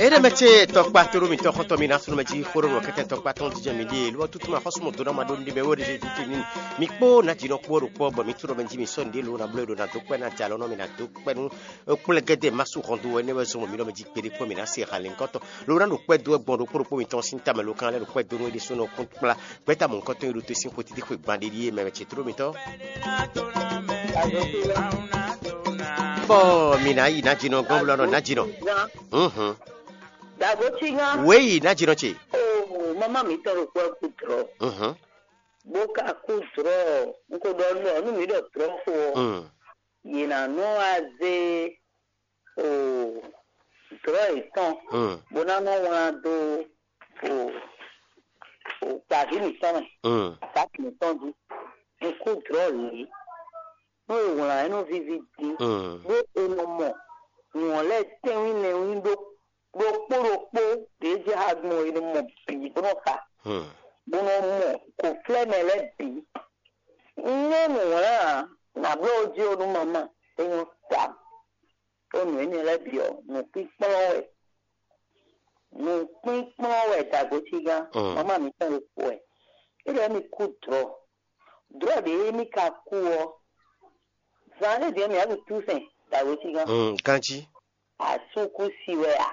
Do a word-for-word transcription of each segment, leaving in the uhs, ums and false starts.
Éɖé mɛ ce tɔkpa tóɖó mitɔn xɔntɔn mi ná sunnu mɛ jí xóɖó nɔ kɛkɛ tɔkpa tɔn jijɛ mi ɖíe ló tutu ma xɔsú mɔ dó ná ma ɖó nɖe mɛ wé ɖe títí ní mi kpó ná jǐ nɔ kpó ɖo kpɔ́ bɔ mi tóɖó mɛ jí mi sɔ́ nɖě ló ná bló ɖo ná dó kpɛ́ ná jalɔ nɔ mi ná dó kpɛ́ nú kplɛ́ gɛ́dɛ ma sú hɔn dó wɛ nɛ́ wɛ zɔn mɔ mi ɖɔ mɛ jí kpeɖé kpɔ́ mi ná se ha lɛ̌ngbɔ́tɔn ló ná ɖo kpɛ́ dó wɛ gbɔn ɖokpó ɖokpó mitɔn sín tamɛ ló kan lɛ́ ɖo kpɛ́ dó nú é ɖésú nɔ kún kplá gbɛ́ta mɔ̌hunkɔtɔn e ɖo te sín xwe títí xwe gban ɖé ɖíe mɛ ce tóɖó mitɔn. Bɔ mi ná yi ná jǐnɔ gɔ́n blɔ nɔ ná jǐnɔ. Mhm. Dagoti ŋa. Wěyi ná jǐnɔ ce. O mama mi tɔn ɖo kpɔ kú drɔ. Mhm. Bó ka kú drɔ. N ko ɖɔ nɔ nu mi ɖɔ drɔ xo. Mm. Yě ná nɔ wá zé o drɔ yětɔn. Mm. Bó ná nɔ wlán dó o o taví mǐtɔn mɛ. Mm. Taví mǐtɔn jí. N kú drɔ lě. Nú è wlǎn ɛ nɔ víví dín, bó è nɔ mɔ nǔ ɔ́ lɛ́ɛ tɛ́nwí lɛ́nwí ɖó ɖokpó ɖokpó ɖě jɛ xá gbɔn è nɔ mɔ bǐ bó nɔ xa, bó nɔ mɔ kǒflɛ́mɛ lɛ́ɛ bǐ. Un nyɔ́ nǔ wlán ǎ, nǎ bló jí ó nú mama, é nyɔ́ ta. Ó nǔ énɛ́ lɛ́ɛ bǐ ɔ́, nǔkpínkplɔ́n wɛ. Nǔkpínkplɔ́n wɛ dagosígán, mama mǐtɔn ɖokpó wɛ. É ɖɔ émí kú dlɔ̌. Dlɔ̌ ɖě émí ka kú ɔ́, zan énɛ́ din ɔ́, mǐ wá ɖu túsɛn dagosígán. Ganjí. Asúkúsi wɛ a?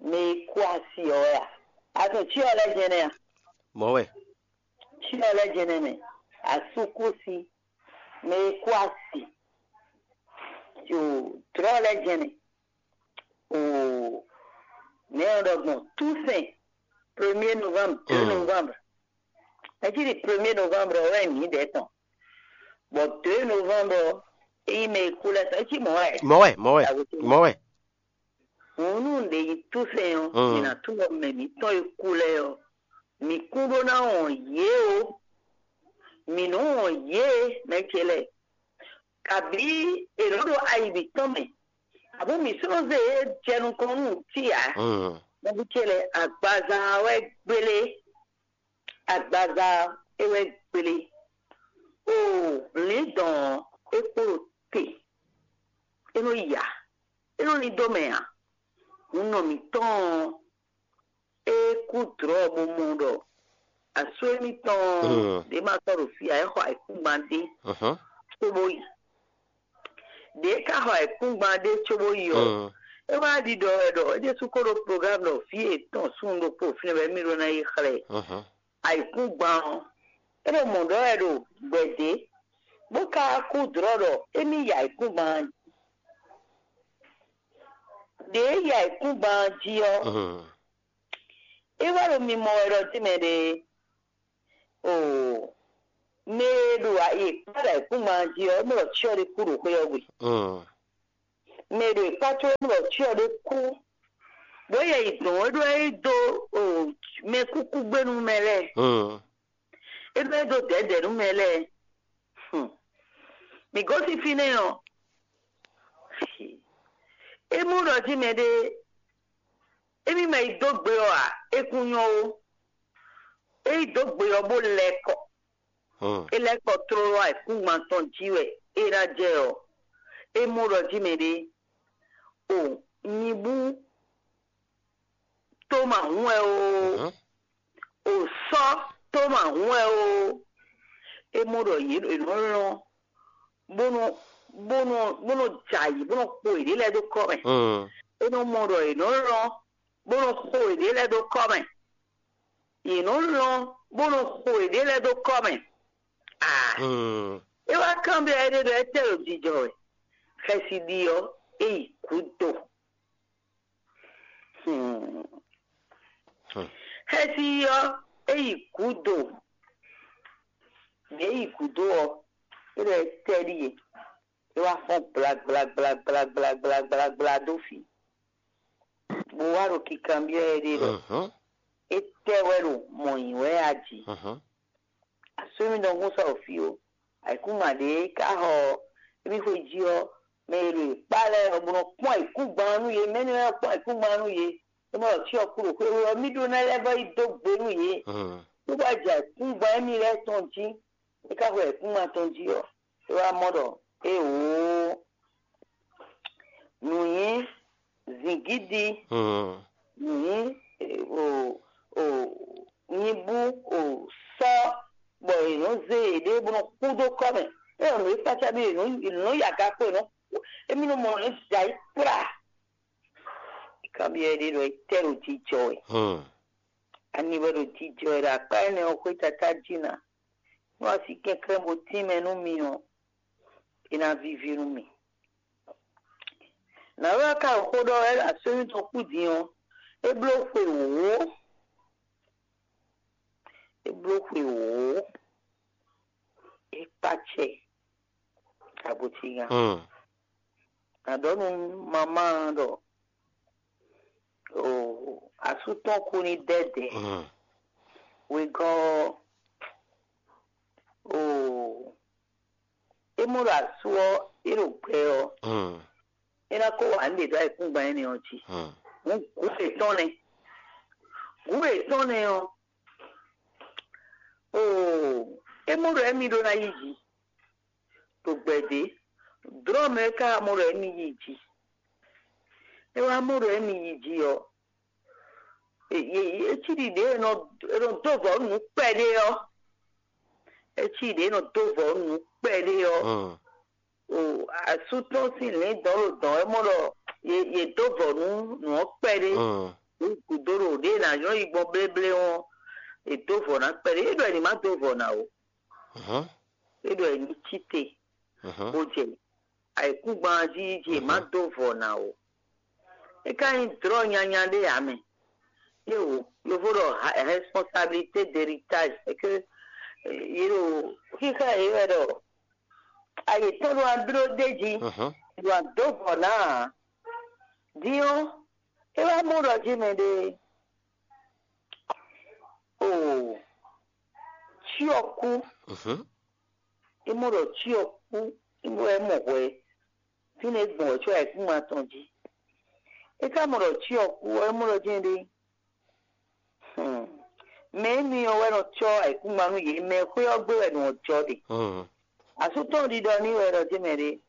Mɛ e kú asi ɔ́ wɛ a? Azɔn cyɔ lɛ́ɛ jɛ́n nɛ́ a? Mɔ̌ wɛ. Cyɔ lɛ́ɛ jɛ́n nɛ́ mɛ. Asúkúsi, mɛ e kú asi, o, dlɔ̌ lɛ́ɛ jɛ́n nɛ́. O, nɛ̌ ɔ́ ɖɔ gbɔn? Túsɛn, premier novembre, deux novembre. Mɛ cí ɖi premier novembre ɔ́ wɛ nyǐ ɖɛ̌ tɔn. Bɔ deux novembre ɔ́, é nyí mɛ e kú lɛ́ɛ tɔn. É cí mɔ̌ wɛ. Mɔ̌ wɛ, mɔ̌ wɛ, mɔ̌ wɛ. Hǔn nú ɖě nyí túsɛn ɔ́, mǐ ná tunwun ɖɔ mɛ mǐtɔn e kú lɛ́ɛ ɔ́, mǐ kún ɖó ná wɔn yě ó. Mǐ nɔ́ wɔn yě mɛ ce lɛ́ɛ. Kabǐ è nɔ́ ɖo ayi mǐtɔn mɛ, abú mǐ sɔ́ nɔ zé yě jɛ nukɔn nú nǔtí ǎ. Nɔví ce lɛ́ɛ, agbaza ɔ́ wɛ gbélé. Agbaza ɔ́ é wɛ gbélé. O lǐndɔ̌n ɔ́, é kpo ɖo te. É nɔ ya. É nɔ lín dó mɛ ǎ. Hun nɔ mǐtɔn ɔ́, é kú dlɔ̌ bó mɔ ɖɔ asú émítɔn ɔ́, ɖě ma tɔ́ ɖo fí ǎ, é xɔ ayǐkúngban ɖé cóbó yi. Ɖě é ka xɔ ayǐkúngban ɖé cóbó yi ɔ́, é wá ɖiɖɔ wɛ ɖɔ é ɖésú ko ɖó plogámu ɖɔ vǐ yětɔn súnnu ɖokpó fínɛ́ wɛ émí ɖó ná yi xlɛ́. Ayǐkúngban ɔ́, é ɖo mɔ̌ ɖɔ wɛ ɖo gbɛ̌dě, bó ka kú dlɔ̌ ɖɔ émí yi ayǐkúngban jí. Ɖě e yi ayǐkúngban jí ɔ́, é wá ɖo mimɔ wɛ ɖɔ tínmɛ ɖe. Oo, mɛ e ɖo ayǐkúngban jí ɔ́, é mɔ ɖɔ cyɔ ɖé kú ɖo xwé ɔ́ gbe. Mɛ e ɖo yě kpá có é mɔ ɖɔ cyɔ ɖé kú, bó yɛ yi dɔn é ɖó é dó mɛkúkúgbénu mɛ lɛ́ɛ. É ɖó é dó dɛ̌dɛ̌ nú mɛ lɛ́ɛ. Mǐ gosín fínɛ́ ɔ́, é mɔ ɖɔ jí mɛɖé émí ma yi dó gbe ɔ́ ǎ, é kún nyɔ́ ó. É yi dó gbe ɔ́ bó lɛ́ kɔ. É lɛ́ kɔ tlóló ayǐkúngban tɔn jí wɛ é ná jɛ ɔ́, é mɔ ɖɔ jí mɛɖé o nyibú tó ma hun wɛ ó, o sɔ́ tó ma hun wɛ ó. É mɔ ɖɔ yě è nɔ lɔn bó nɔ bó nɔ bó nɔ jɛ ayǐ bó nɔ xo yěɖée lɛ́ɛ dó kɔ́ mɛ. É nɔ mɔ ɖɔ è nɔ lɔn bó nɔ xo yěɖée lɛ́ɛ dó kɔ́ mɛ. Yě nɔ lɔn bó nɔ xo yěɖée lɛ́ɛ dó kɔ́ mɛ. Aa, é wá kanbyɔ́ éɖée ɖɔ étɛ́ ɖo jijɔ wɛ? Xɛsi ɖi ɔ́, é yi gǔdo. Xɛsi ɔ́, é yi gǔdo. Mɛ e yi gǔdo ɔ́, é ɖɔ étɛ́ ɖíe? É wá fɔ́n gblagblagblagblagblagbla dó fí, bó wá ɖo kikanbyɔ́ ɛ ɖe ɖɔ étɛ́ wɛ ɖo mɔ̌ nyi wɛ a jí? Asú émí ɖɔhun sɔ́ ɖo fí ó. Ayǐkúngban ɖě ka xɔ émí xwe jí ɔ́, mɛ e ɖo yě kpá lɛ́ɛ ɔ́, bó nɔ kpɔ́n ayǐkúngban ɔ́ nú yě. Mɛ̌ nɔ kpɔ́n ayǐkúngban ɔ́ nú yě? É mɔ ɖɔ cyɔ kú ɖo xwé ɔ́, mì ɖó ná lɛ́ vɔ́ yi dó gbe nú yě. Bó wá jɛ ayǐkúngban émí lɛ́ɛ tɔn jí. É ka xwe ayǐkúngban tɔn jí ɔ́, é wá mɔ ɖɔ éeǒ, nǔ nyí zǐngídi, Nyi o o nyibú o sɔ́ bɔ è nɔ́ zé yěɖée bó nɔ́ kú dó kɔ́ mɛ. É ɔ́, nǔ e kpácá bí è nɔ́ è nɔ́ yi aga kpó è nɔ́ kú. Émí nɔ mɔ nǔ e da yi kplá. Kanbyɔ́ ɖé ɖɔ é tɛ́ ɖo jijɔ wɛ. Hmm. Ani wɛ ɖo jijɔ wɛ ɖo akpá énɛ́ ɔ́ xwé tatá jí ná. Nú a sí kɛnklɛ́n bó tínmɛ nú mi ɔ́, é ná víví nú mi. Nǎwe ɔ́ ka ɖo xó ɖɔ wɛ ɖo asɔ́ émítɔn kú din ɔ́, é bló xwe wǒ. É bló xwe wǒ. É kpá acɛ kabotínga. Hmm. Nǎ ɖɔ nú mamá ɔ́ ɖɔ o asú tɔn kú ní dɛ́dɛ̌. Hmm. Wegɔ́ ɔ́, o é mɔ ɖo asú ɔ́ é ɖo gbɛ ɔ́, Hmm. é ná kó wǎ nǔɖé dó ayǐkúngban énɛ́ ɔ́ jí. Hmm. Hǔn gǔ yětɔn nɛ́. Gǔ yětɔn nɛ́ ɔ́, o é mɔ ɖɔ émí ɖó ná yí jǐ ɖo gbɛ̌dě. Drɔ̌ mɛ é ka wá mɔ ɖɔ émí yí jǐ. É wá mɔ ɖɔ émí yí jǐ ɔ́, é cí ɖiɖě e nɔ dó vɔ̌ nǔ kpɛɖé ɔ́. É cí ɖiɖě e nɔ dó vɔ̌ nǔ kpɛɖé ɔ́. Mm. O asú tɔn sín lǐndɔ̌n ɖo dɔ̌n wɛ mɔ ɖɔ yě dó vɔ̌ nú nǔ ɔ́ kpɛɖé. Mm. Nǔ gǔdo ɖo ɖě e nǎ nyɔ́ yi gbɔn bléblé ɔ́, è dó vɔ̌ ná kpɛɖé. É ɖɔ è ní má dó vɔ̌ ná o. Mhm. É ɖɔ è ní cí te Mhm. bó jɛ ayǐkúngban jí jí è má Mhm. dó vɔ̌ ná o. É ka nyí drɔ̌ nyanya ɖé ǎ mɛ. Yě wò, yovo ɖɔ ha- responsabilité d'héritage, c'est que yě ɖo xíxá yě wɛ ɖɔ ayě tɔn ɖo abló ɖé jí, Mhm. ɖo adó vɔ̌ ná ǎ. Din ɔ́, é wá mɔ ɖɔ jí mɛ ɖé o cyɔ kú. Mhm. É mɔ ɖɔ cyɔ kú, é mɔ wɛ mɔ hwɛ fínɛ́ gbɔn wɛ cyɔ ayǐkúngban tɔn jí. É ka mɔ ɖɔ cyɔ kú ɔ́, é mɔ ɖɔ jɛ́n ɖé. Hmm. Mɛ énɛ́ ɔ́ wɛ nɔ cɔ́ ayǐkúngban nú yě, mɛ xwé ɔ́ gbé wɛ nǔ ɔ́ jɔ ɖe. Mhm. Asú tɔn ɖiɖɔ n'i wɛ ɖɔ jɛ́n mɛ ɖé.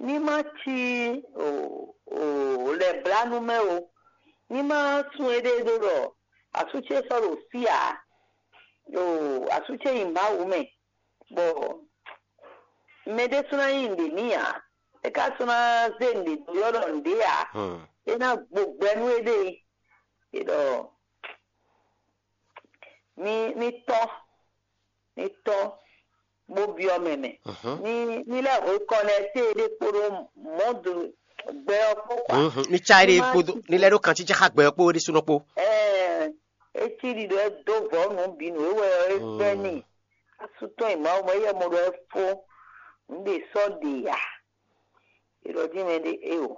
Ní má cí o o lɛ̌blánú mɛ o. Ní má sun éɖée ɖó ɖɔ asú ce sɔ́ ɖo fí ǎ. O asú ce nyi Mawu mɛ, bɔ mɛ ɖésú ná nyí nǔɖé n'i ǎ. É ka sɔ́ ná zé nǔɖé dó ylɔ́ ɖɔ nǔɖé ǎ. Hmm. É ná gbo gbɛ nú éɖée. É ɖɔ mí mí tɔ́n mí tɔ́n bó byɔ́ mɛ mɛ. Mhm. Ní ní lɛ́ hwe kɔ lɛ́ té ɖé kpódó mɔ̌du gbɛ ɔ́ kpó kɔá. Mhm. Ní cá éɖée kpódó ní lɛ́ ɖó kan cícá xá gbɛ ɔ́ kpó ɖésúnɔ kpó. Ɛɛ, é cí ɖiɖɔ é dó vɔ̌ nǔ bǐ nǔ é wɛ ɔ́ é fɛ́ n'i. Asú tɔn nyi Mawu mɛ, éyɛ́ mɔ ɖɔ é fó nǔ ɖě sɔ́ ɖe ǎ. É ɖɔ dín mɛ ɖé é o.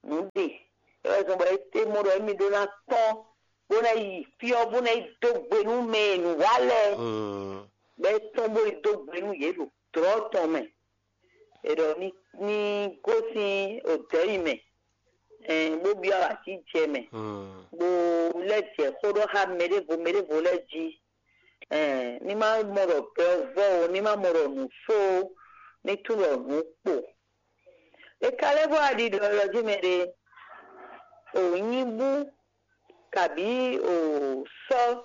Nǔ ɖe é wɛ zɔn bɔ é té mɔ ɖɔ émí ɖó ná tɔ́n bó ná yi fí ɔ́ bó ná yi dó gbe nú mɛ e nǔ wa lɛ́ɛ. Mm. Bɔ é tɔ́n bó yi dó gbe nú yě ɖo dlɔ̌ tɔn mɛ. È ɖɔ ní ní gosín odɛ̌ yi mɛ, ɛn bó byɔ́ así jɛ mɛ, Mm. bó lɛ́ jɛ xó ɖɔ xá mɛ ɖěvo mɛ ɖěvo lɛ́ɛ jí. Ɛn ní má mɔ ɖɔ gbɛ ɔ́ vɔ́ o, ní má mɔ ɖɔ nǔ fó o, ní tunwun ɖɔ nǔ kpo. É ka lɛ́ vɔ aɖi ɖɔ ɔ́ jí mɛ ɖé, o nyí bú kabǐ o sɔ́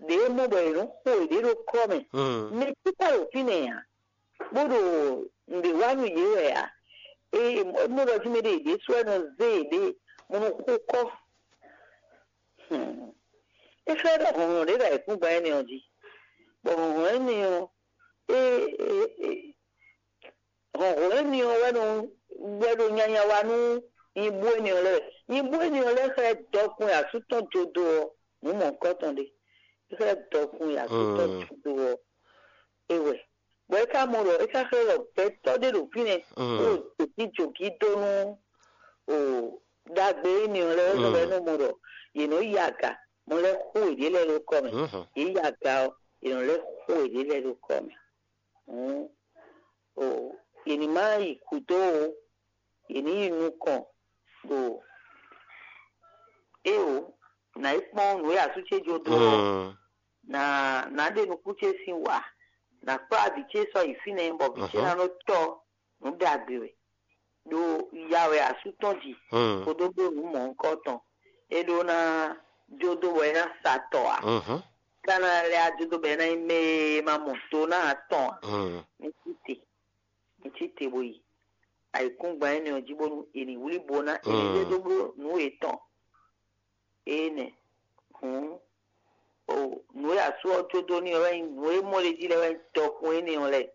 ɖě mɔ bɔ è nǔ xo yě ɖo kɔ́ mɛ. Mm. Mɛ tí ka ɖo fínɛ́ ǎ, bó ɖo nǔɖé wa nú yě wɛ ǎ. É mɔ ɖɔ jí mɛ ɖé yě ɖésú wɛ nɔ zé yěɖée, mo nɔ xo kɔ́. Hmm. É xlɛ́ ɖɔ hlɔ̌nhlɔ́n ɖé ɖo ayǐkúngban énɛ́ ɔ́ jí, bɔ hlɔ̌nhlɔ́n énɛ́ ɔ́, é é é hlɔ̌nhlɔ́n énɛ́ ɔ́ wɛ nɔ wɛ ɖo nyanya wa nú nyibú énɛ́ ɔ́ lɛ́ɛ. Nyibú énɛ́ ɔ́ lɛ́ɛ xlɛ́ dɔkun e asú tɔn jó dó ɔ́, nǔ mɔ̌hunkɔtɔn ɖé. É xlɛ́ dɔkun e asú tɔn Mm. jó dó ɔ́, é wɛ. Bɔ é ka mɔ ɖɔ é ka xlɛ́ ɖɔ gbɛtɔ́ ɖé ɖo fínɛ́, Mm. bó ɖo jǒgíjǒgí dó nú o ɖagbe énɛ́ ɔ́ lɛ́ɛ, Mm. bɔ é nɔ mɔ ɖɔ yě nɔ yi aga, mɔ lɛ́ xo yěɖée lɛ́ɛ ɖó kɔ́ mɛ. Mhm. Yě yi aga ɔ́, yě nɔ lɛ́ xo yěɖée lɛ́ɛ ɖó kɔ́ mɛ. Hǔn o yě ní má yi gǔdo o, yě ní yi nukɔn ɖo éeǒ, nǎ yi kpɔ́n nǔ e asú ce jó dó ɔ́, Mm. nǎ nǎ ɖe nukún ce sín wǎ, nǎ kplá vǐ ce sɔ́ yi fínɛ́, bɔ vǐ ce Mhm. ná nɔ tɔ́ nǔ ɖagbe wɛ, ɖó ya wɛ asú tɔn ji, Mm. kpódó ɖó nǔ mɔ̌hunkɔtɔn. é ɖó ná jó dó bɔ é ná sa tɔ ǎ. Mhm. Ká ná lɛ́ á jó dó bɔ é ná nyí mɛ e ma mɔ do ná atɔn ǎ. Mm. Mi cí te, mi cí te bo yi ayǐkúngban énɛ́ ɔ́ jí bónú è nǐ wlí bo ná è nǐ Mm. zé dó bló nǔ yětɔn. Énɛ́ hǔn o nǔ e asú ɔ́ jó dó n'i ɔ́ wɛ nyí nǔ e mɔ ɖ'é jí lɛ́ɛ wɛ nyí dɔkun énɛ́ ɔ́ lɛ́ɛ.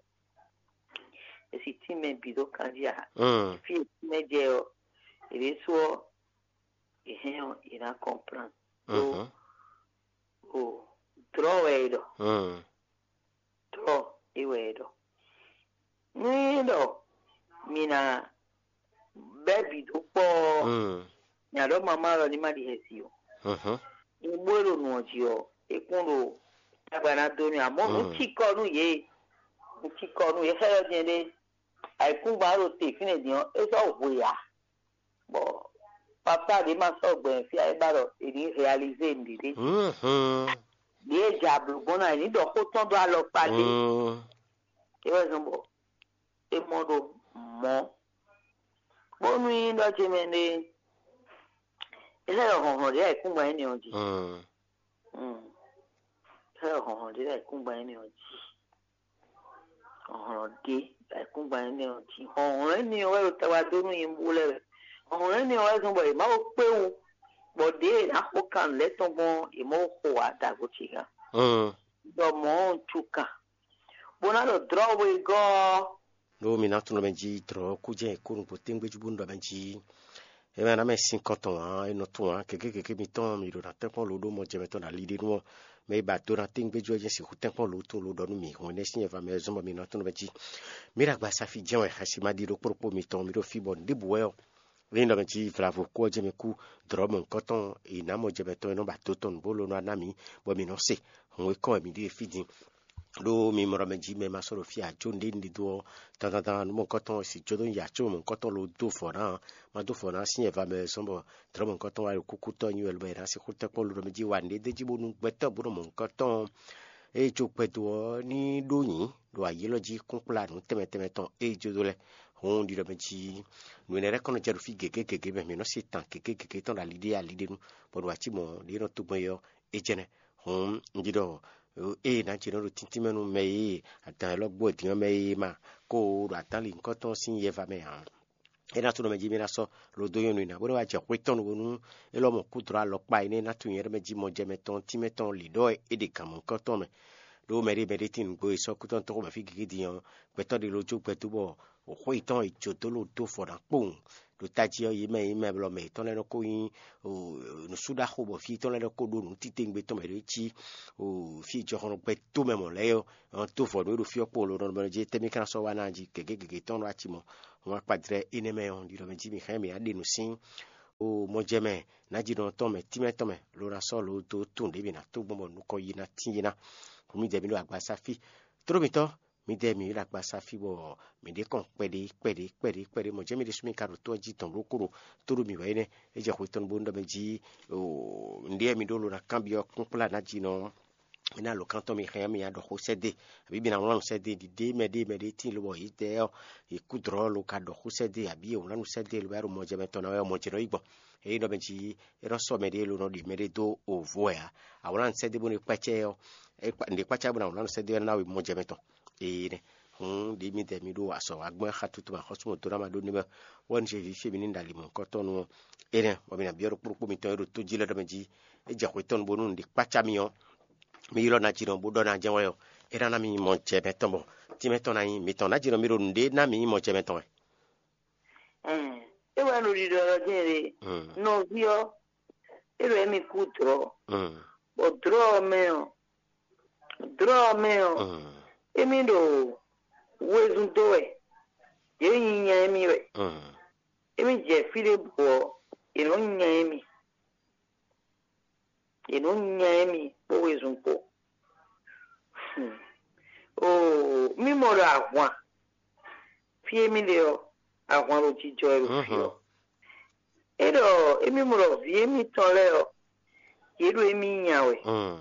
È sì tínmɛ bǐ dó kanjí ǎ. Mm. Fí e tínmɛ jɛ ɔ́, è ɖésú ɔ́, è hɛn ɔ́, è nǎ kɔnplán. Ɖó Mhm. o dlɔ̌ wɛ è ɖɔ, Mm. dlɔ̌ é wɛ è ɖɔ. Nú é ɖɔ mi ná bɛ́ bǐ dó kpɔ́ ɔ́, Mm. nya ɖɔ mamá lɔ ní ma ɖi xɛsi o. Mhm. Nyɛ bó e ɖo nǔ ɔ́ jí ɔ́, é kún ɖo tagba ná dó mì, amɔ̌ nǔ Mm. cikɔ nú yě, nǔ cikɔ nú yě xɛ́ ɔ́ din ɖé, ayǐkúngban ɖo te fínɛ́ din ɔ́, é sɔ́ hwe ǎ. Bɔ papa ɖě ma sɔ́ gbɛn fí a é ba ɖɔ è nǐ realizé nǔɖiɖe. Mhm. Ɖě e jɛ ablu gbɔn ná è nǐ ɖɔ xó tɔn dó alɔkpa ɖé. Mm. É wɛ zɔn bɔ é mɔ ɖo mɔ̌. Bónú nyí ɖɔ ce mɛ ɖé, é xɛ ɖɔ hlɔ̌nhlɔ́n ɖě ayǐkúngban énɛ́ ɔ́ jí. Mm. Mm. É xɛ ɖɔ hlɔ̌nhlɔ́n ɖě ayǐkúngban énɛ́ ɔ́ jí. Hlɔ̌nhlɔ́n ɖě ayǐkúngban énɛ́ ɔ́ jí. Hlɔ̌nhlɔ́n énɛ́ ɔ́ wɛ ɖo tawa dó nú nyibú lɛ́ɛ wɛ. Hlɔ̌nhlɔ́n énɛ́ ɔ́ wɛ zɔ́n bɔ yě má ko kpé wú, bɔ ɖěe è nǎ xo kan nǔ lɛ́ɛ tɔn gbɔn ɔ́, yě má ko xo ǎ dǎgbo ce gán. Mm. Ɖɔ mɔ̌ ɔ́ un cu kan, bó ná ɖɔ dlɔ̌ we gɔ́ ɔ́. Ɖó mi ná tunwun mɛ jí dlɔ̌ kú jɛ́n è kó nǔgbó téŋgbé jí bó nú ɖɔ mɛ jí. É mɛ ná mɛ sín kɔn tɔn ǎ, é nɔ tunwun ǎ, gěgé gěgé mitɔn mi ɖo ná tɛ́nkpɔ́n lo ɖó mɔ jɛ mɛtɔn ɖo ali ɖé nú ɔ́, mɛ e ba do ná téŋgbé jí ɔ́ jɛ́n sixú tɛ́nkpɔ́n lo tunwun lo ɖɔ nú mì hɔn énɛ́ sín nyɛ va mɛ zɔ́n bɔ mi ná tunwun mɛ jí. Mǐ ɖo agbasafi jɛ́n wɛ, xɛsi ma ɖi ɖokpó ɖokpó mitɔn, mi ɖo fí bɔ nǔɖébǔ wɛ ɔ́, ényí ɖɔ mɛ jí vlavo kú ɔ́ jɛ́n mɛ kú, dlɔ̌ mɔ̌hunkɔtɔn è nǎ mɔ jɛ mɛtɔn e nɔ ba do tɔn nǔ bó lo nɔ ná mǐ, bɔ mǐ nɔ se. Hǔn e kɔn wɛ mǐ ɖe fí din. Ɖó mi mɔ ɖɔ mɛ jí mɛ ma sɔ́ ɖo fí ǎ, jó nǔɖé nǔɖé dó ɔ́, dandandan nú mɔ̌hunkɔtɔn si jó dó nya có mɔ̌hunkɔtɔn lo dó vɔ̌ ná, ma dó vɔ̌ ná sín nyɛ va mɛ zɔ́n bɔ dlɔ̌ mɔ̌hunkɔtɔn wá ɖo kúkútɔ́ nyi wɛ lobɔ è nǎ sixú tɛ́nkpɔ́n lo ɖɔ mɛ jí wa nǔɖé d'é jí bónú gbɛtɔ́ bó nɔ mɔ̌hunkɔtɔn. Ée jó gbɛdo ɔ́ ní ɖó nyǐ ɖo ayǐ élɔ́ jí kúnkplá nǔ tɛnmɛ tɛnmɛ tɔn ée jó dó lɛ́ɛ. Hǔn ɖiɖɔ mɛ jí nǔ énɛ́ lɛ́ɛ kɔn nɔ jɛ ɖo fí gěgé gěgé mɛ, mǐ nɔ́ se tan gěgé gěgé tɔn ɖo ali ɖé ali ɖé nu, bɔ ɖo ací mɔ̌ ɖě nɔ tó gbɔn é ɔ́, é jɛnɛ. Hǔn un ɖi ɖɔ ée ná jɛ nɔ ɖo tíntín mɛ nú mɛ e adan élɔ́ gbó din ɔ́ mɛ e ma ko ɖo adán li nyǐkɔ tɔn sín yɛ va mɛ ǎ. É ná tunwun mɛ jí mì ná sɔ́ lo dó nyɔ́nu ná bó nɔ́ wá jɛ xwé tɔn nu bónú é lɔ́ mɔ kúdlɔ́ alɔkpa énɛ́ ná tunwun nyɛ ɖɔ mɛ jí mɔ jɛ mɛtɔn tínmɛ tɔn lǐ ɖɔ é ɖe gǎn mɔ̌hunkɔtɔn mɛ. Ɖó mɛɖé mɛɖé tín nǔgbó e sɔ́ kútɔ́ tɔn xomɛ fí gěgé din ɔ́, gbɛtɔ́ ɖé ló jó gbɛ dó bɔ xwé yětɔn è jó dó ló dó vɔ ná kpowun. Ɖo tají ɔ́, yě mɛ yě mɛ blɔ mɛ yětɔn lɛ́ɛ nɔ ko nyí nǔsúɖaxo bɔ fí yětɔn lɛ́ɛ nɔ ko ɖó nǔ titewungbe tɔn mɛ ɖě cí fí jɔhɔn gbɛ tó mɛ mɔ̌ lɛ́ɛ ɔ́, dó vɔ nǔ e ɖo fí ɔ́ kpowun lo nɔ mɛ jí tɛ́ mì ka ná sɔ́ wá ná jí gěgé gěgé tɔn ɖo aci mɔ. Wọ́n wá kpa jlɛ́ énɛ́ mɛ ɔ́, ɖiɖɔ mɛ jí mǐ hɛn mǐ ná ɖe nǔ sín o mɔjɛmɛ nǎjínɔ tɔn mɛ tínmɛ tɔn mɛ lo ná sɔ́ lo dó tunwun ɖě mǐ ná tó gbɔn bɔ nukɔn yi ná tín yi ná. Hǔn mì dɛ mǐ ɖo agbaza fí. Tló mǐtɔn, mǐdɛɛ mǐ ɖo agbaza fí bɔ mǐ ɖě kɔn kpɛɖé kpɛɖé kpɛɖé kpɛɖé mɔ̌ jɛ́n mì ɖésú mì ka ɖo tó ɔ́ jí dɔ̌n ɖokpó ɖo tóɖó mǐ wɛ énɛ́. É jɛ xwe tɔn bónú ɖɔ mɛ jí nǔɖé mi ɖó lo ná kanbyɔ́ kúnkplá nǎjínɔ ɔ́, mi ná lǒ kántɔ́ mi xɛn mi ná ɖɔ xó sɛ́ dó e, abǐ mi ná wlán nǔ sɛ́ dó e, ɖiɖe mɛ ɖé mɛ ɖé tíin lobɔ yě dɛ ɔ́, yě kú dlɔ̌ lo ka ɖɔ xó sɛ́ dó e, abǐ yě wlán nǔ sɛ́ dó e lobɔ é ɖo mɔjɛmɛ tɔn ná wɛ ɔ́, mɔjɛnɔ yi gbɔn. Ényí ɖɔ mɛ jí é nɔ sɔ́ mɛ ɖé lo nɔ ɖe mɛ ɖé dó o vo wɛ ǎ. A wlán nǔ sɛ́ dó e bónú é kpácá ɛ ɔ́, é kpa- nǔɖé kpácá ɛ bónú a wlán nǔ sɛ́ dó e ná we mɔjɛmɛ tɔn. Ee nɛ. Hǔn ɖě mi dɛ mi ɖo azɔ̌ wa gbɔn xá tutu ma xɔ́sú mɔ dó ná ma ɖó nɛ́ mɛ. Wɛ un se vǐ fí mi ní ɖo ali mɔ̌hunkɔtɔn nu ɔ́. Énɛ́ bɔ mi nǎ byɔ́ ɖokpó ɖokpó mitɔn e ɖo tó jí lɛ́ɛ ɖɔ mɛ jí é jɛ xwetɔ́nu bónú nǔɖé kpácá mi ɔ́, mi ylɔ́ ná jínɔ bó ɖɔ ná jɛ́n wɛ ɔ́, é ná ná mi nyí mɔ jɛ mɛtɔn bɔ tínmɛ tɔn ná nyí mitɔn. Ná jínɔ mi ɖo nǔɖé ná mi nyí mɔ jɛ mɛtɔn wɛ. Ɛn, é wɛ ɖo ɖiɖɔ ɔ́ din ɖe. Mm. Nɔví ɔ́, é ɖo émi kú dlɔ̌, Mm. bɔ dlɔ̌ ɔ́ mɛ ɔ́, dlɔ̌ ɔ́ mɛ ɔ́, Mm. émi ɖo wezun dó wɛ, yě nyi nya émi wɛ. Mm. Émi jɛ fí ɖěbǔ ɔ́, è nɔ́ nya émi. È nɔ́ nya émi kpó wezun kpó. Hmm. Oo, mí mɔ ɖɔ ahwan fí émi ɖe ɔ́, ahwan ɖo jijɔ wɛ ɖo fí ɔ́. É ɖɔ émi mɔ ɖɔ vǐ émitɔn lɛ́ɛ ɔ́, yě ɖo émi nya wɛ. Mm.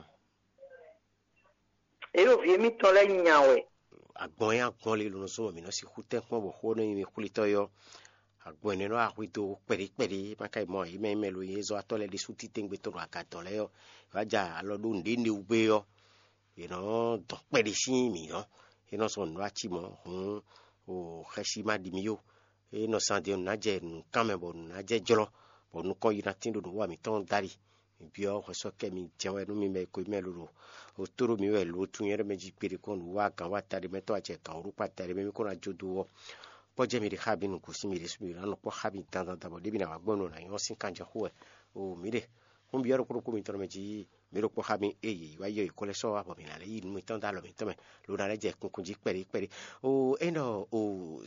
Yě ɖo vǐ émitɔn lɛ́ɛ nya wɛ. Agbɔn e agbɔn le lɔn zɔn mǐ nɔ sixú tɛ́nkpɔ́n bɔ xó nɔ nyi mi xwlítɔ́ é ɔ́, Agbɔn énɛ́ nɔ wá hwedó kpɛɖé kpɛɖé, má ka yi mɔ yě mɛ e mɛ lo yě zɔ́watɔ́ lɛ́ɛ ɖésú títɛ́ngbé tɔn ɖo aga dɔ̌n lɛ́ɛ ɔ́, è wá ja alɔ ɖó nǔɖé néwú gbé ɔ́, yě nɔ dɔn kpɛɖé sín mǐ ɔ́, é nɔ sɔ́ nǔ ɖó ací mɔ̌ hǔn, o xɛsi ma ɖi mì ó. É nɔ zán din ɔ́, nǔ ná jɛ nǔkán mɛ bɔ nǔ ná jɛ jlɔ́, bɔ nukɔn yi ná tín ɖo nǔwa mǐtɔn dali. Mǐ byɔ́ hwɛsɔ́kɛ mi jɛ wɛ nú mi mɛ e ko mɛ lolo. O tó ɖo mǐ wɛ lo tunwun nyɛ ɖɔ mɛ jí kpeɖé kɔn nǔ wa gǎn wa taɖe mɛ tɔn wá jɛ gǎn wǒ ɖó kpa taɖe mɛ mí kó ná jó dó ɔ́. Kpɔ́ jɛ mi ɖe xá mi nǔ gosín mi ɖésú mi ɖo ná nɔ kpɔ́ xá mi dandan dan bɔ ɖěbǔ ná wá gbɔn nɔ ná nyɔ́ sín kanjɔ xó wɛ. O mǐ ɖe xú byɔ́ ɖokpó ɖokpó mitɔn mɛ jí mǐ ɖo kpɔ́ xá mi ée yě wá yɔ yě kɔ lɛ́ sɔ́ wá bɔ mǐ ná lɛ́ yí nǔ mitɔn dó alɔ mǐtɔn mɛ, lo ná lɛ́ jɛ kunkun jí kpɛɖé kpɛɖé. O é ɖɔ o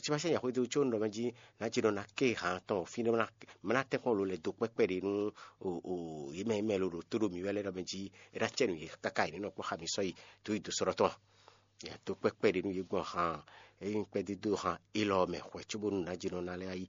simasɛ nya xwedó có un ɖɔ mɛ jí ná jí nɔ ná ké han tɔn fí nɔ ná tɛ́nkpɔ́n lo lɛ dó kpɛ́kpɛ́ ɖé nú o yě mɛ mɛ lo ɖo tó ɖo mǐ wɛ lɛ́ ɖɔ mɛ jí é ná cɛ nǔ yě káká yě ní nɔ kpɔ́ xá mi sɔ́ yi dó yi dó sɔ́ ɖɔ tɔn. Mǐ to kpɛ́ kpɛɖé nú yě gbɔn han, ényí kpɛ́dídó han élɔ́ mɛ hwɛ̌ cóbónú ná jí nɔ ná lɛ́ yí.